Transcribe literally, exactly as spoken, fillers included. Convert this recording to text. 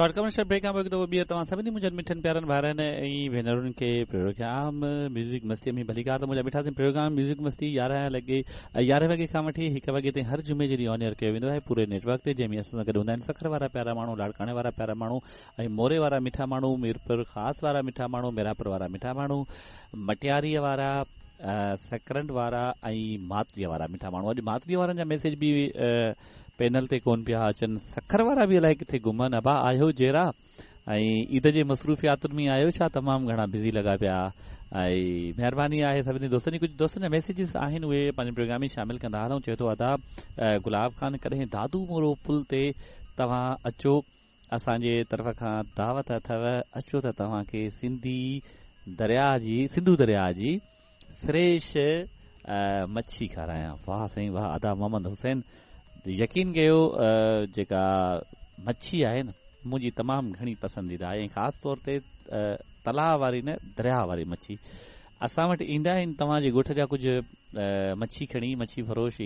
Short commercial break کان پوءِ هڪ دفعو ٻيهر توهان سڀني منهنجن مٺن پيارن ڀائرن ۽ ڀينرن کي پروگرام ميوزڪ مستيءَ ۾ ڀليڪار. ته منهنجا مٺا سائين، پروگرام ميوزڪ مستي يارهن لڳي يارهين وڳي کان وٺي هڪ وڳي تائين هر جمعي جي ڏينهن آن ايئر ڪيو ويندو آهي پوري نيٽ ورڪ تي، جنهن ۾ اسان سان گڏ هوندا آهن سکر وارا پيارا ماڻهو، لاڙڪاڻي وارا پيارا ماڻهو ۽ موري وارا مٺا ماڻهو، ميرپور خاص وارا مٺا ماڻهو، ميراپور وارا مٺا ماڻهو، مٽياريءَ وارا، سڪرنڊ وارا ۽ ماتليءَ وارا مٺا ماڻهو. اڄ ماتليءَ وارن جا ميسيج به پينل تي ڪونه پيا اچن. سکر وارا به الائي ڪٿي گهمن. ابا، آهيو جيرا ۽ عيد جي مصروفياتن ۾ آهيو ڇا؟ تمام گهڻا بزي لڳا پيا ۽ مهرباني آهي سڀني دوستن جي. ڪجهه دوستن جا ميسيجز آهن، اهي پنهنجي پروگرام ۾ شامل ڪندا هلون. چئي ٿو، ادا گلاب خان، ڪڏهن دادو مورو پل تي توهان اچو، اسان جي طرف کان دعوت اٿو، اچو ته توهان کي سنڌي دريا جي سنڌو دريا جي فريش مڇي کارايان. واهه سائين واهه ادا محمد حسين، يقين ڪيو، جيڪا مڇي آهي نه، منهنجي تمام گهڻي پسنديده آهي ۽ خاص طور تي تلاءُ واري نه، دريا واري مڇي. اسان وٽ ايندا آهن توهان جي ڳوٺ جا ڪجهه مڇي کڻي مڇي فروش.